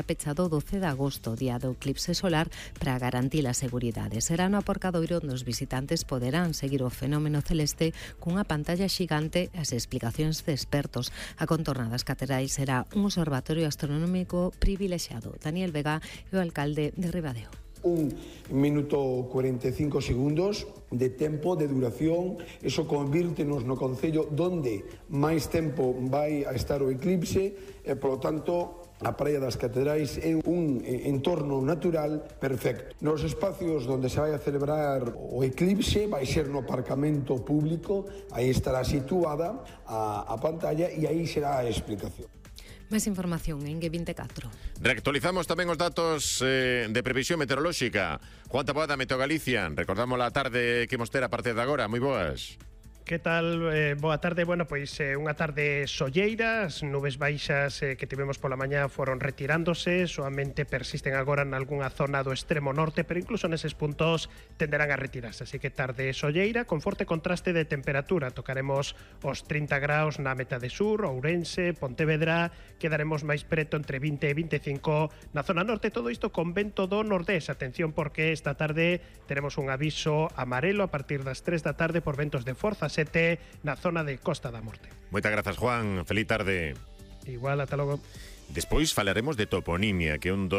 pechado o 12 de agosto, día do eclipse solar, para garantir a seguridade. Será no aparcadoiro onde os visitantes poderán seguir o fenómeno celeste cunha pantalla xigante e as explicacións de expertos. A contorna das catedrais será un observatorio astronómico privilexiado. Daniel Vega é o alcalde de Ribadeo. 1 minuto 45 segundos de tempo de duración. Eso convírtenos no concello donde máis tempo vai a estar o eclipse e, polo tanto, a Praia das Catedrais é un entorno natural perfecto. Nos espacios onde se vai a celebrar o eclipse vai ser no aparcamento público, aí estará situada a pantalla e aí será a explicación. Máis información en G24. Reactualizamos tamén os datos de previsión meteorolóxica. Juan Taboada, Meteo Galicia. Recordamos a tarde que imos ter a partir de agora. Moi boas. Que tal? Boa tarde. Bueno, pois unha tarde solleira. As nubes baixas que tivemos pola mañá foron retirándose, soamente persisten agora en algunha zona do extremo norte, pero incluso neses puntos tenderán a retirarse. Así que tarde solleira con forte contraste de temperatura. Tocaremos os 30 graus na metade sur, Ourense, Pontevedra, quedaremos máis preto entre 20 e 25 na zona norte. Todo isto con vento do nordés. Atención, porque esta tarde teremos un aviso amarelo a partir das 3 da tarde por ventos de forza na zona de Costa da Morte. Moitas grazas, Juan. Feliz tarde. Igual, ata logo. Despois falaremos de toponimia, que é unha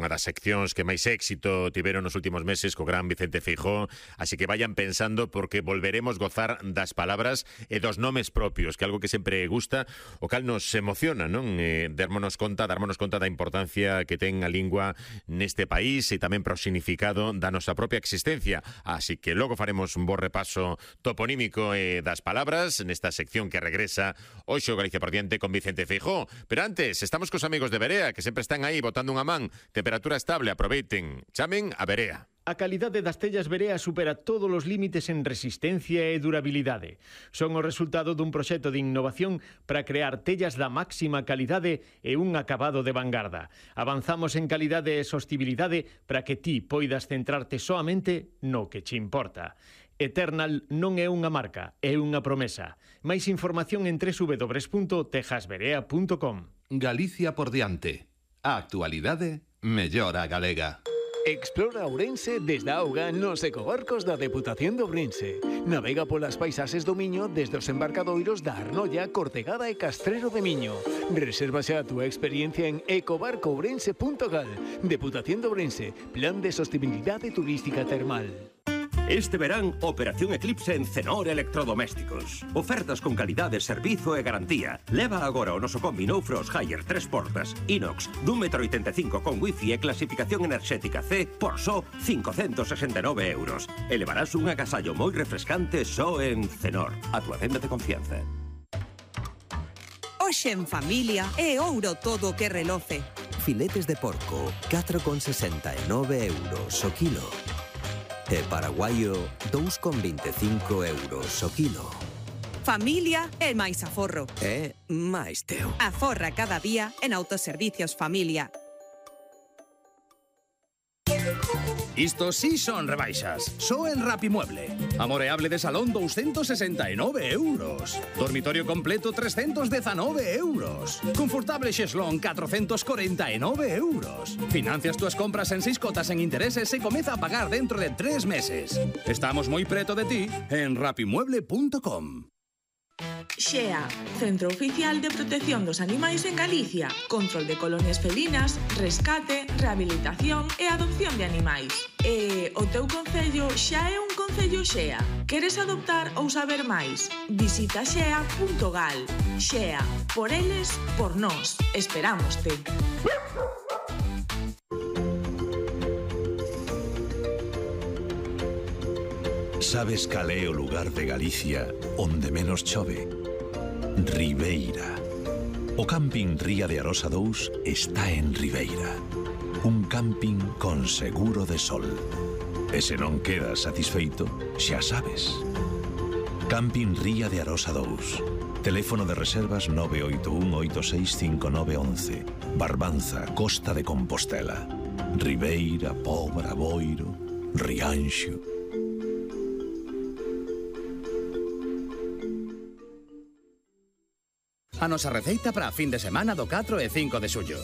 das seccións que máis éxito tiveron nos últimos meses co gran Vicente Feijóo, así que vayan pensando porque volveremos gozar das palabras e dos nomes propios, que é algo que sempre gusta, o cal nos emociona, non? Darmonos conta da importancia que ten a lingua neste país e tamén pro significado da nosa propia existencia. Así que logo faremos un bo repaso toponímico das palabras nesta sección que regresa hoxe o Galicia por diante con Vicente Feijóo. Pero antes, estamos cos amigos de Berea, que sempre están aí botando unha man. Temperatura estable, aproveiten. Chamen a Berea. A calidade das tellas Berea supera todos os límites en resistencia e durabilidade. Son o resultado dun proxecto de innovación para crear tellas da máxima calidade e un acabado de vanguarda. Avanzamos en calidade e sostibilidade para que ti poidas centrarte soamente no que che importa. Eternal non é unha marca, é unha promesa. Máis información en www.tejasberea.com. Galicia por diante. A actualidade mellora a galega. Explora Ourense desde a auga nos ecobarcos da Deputación de Ourense. Navega polas paisaxes do Miño desde os embarcadoiros da Arnolla, Cortegada e Castrero de Miño. Resérvase a túa experiencia en ecobarcoourense.gal. Deputación de Ourense, Plan de Sostenibilidade Turística Termal. Este verán, Operación Eclipse en Cenor Electrodomésticos. Ofertas con calidade, servizo e garantía. Leva agora o noso combi No Frost Haier 3 portas, inox, d'1,85 m con wifi e clasificación enerxética C por só 569 euros. E levarás un agasallo moi refrescante só en Cenor, a túa tenda de confianza. Hoxe en familia é ouro todo o que reloce. Filetes de porco, 4,69 euros o kilo. E paraguaio, 2,25 euros o kilo. Familia é máis aforro. É máis teu. Aforra cada día en Autoservicios Familia. Isto sí son rebaixas. Só en Rapimueble. Amoreable de salón 269 euros. Dormitorio completo 319 euros. Confortable xeslón 449 euros. Financias túas compras en 6 cotas en intereses e comeza a pagar dentro de 3 meses. Estamos moi preto de ti en rapimueble.com. XEA, Centro Oficial de Protección dos Animais en Galicia. Control de colonias felinas, rescate, rehabilitación e adopción de animais. E o teu concello xa é un concello XEA. Queres adoptar ou saber máis? Visita xea.gal. XEA, por eles, por nós. Esperámoste. Sabes cal é o lugar de Galicia onde menos chove? Ribeira. O camping Ría de Arosa 2 está en Ribeira. Un camping con seguro de sol. E se non quedas satisfeito, xa sabes. Camping Ría de Arosa 2. Teléfono de reservas 981865911. Barbanza, Costa de Compostela. Ribeira, Pobra, Boiro, Rianxo. A nosa receita para a fin de semana do 4 e 5 de xullo.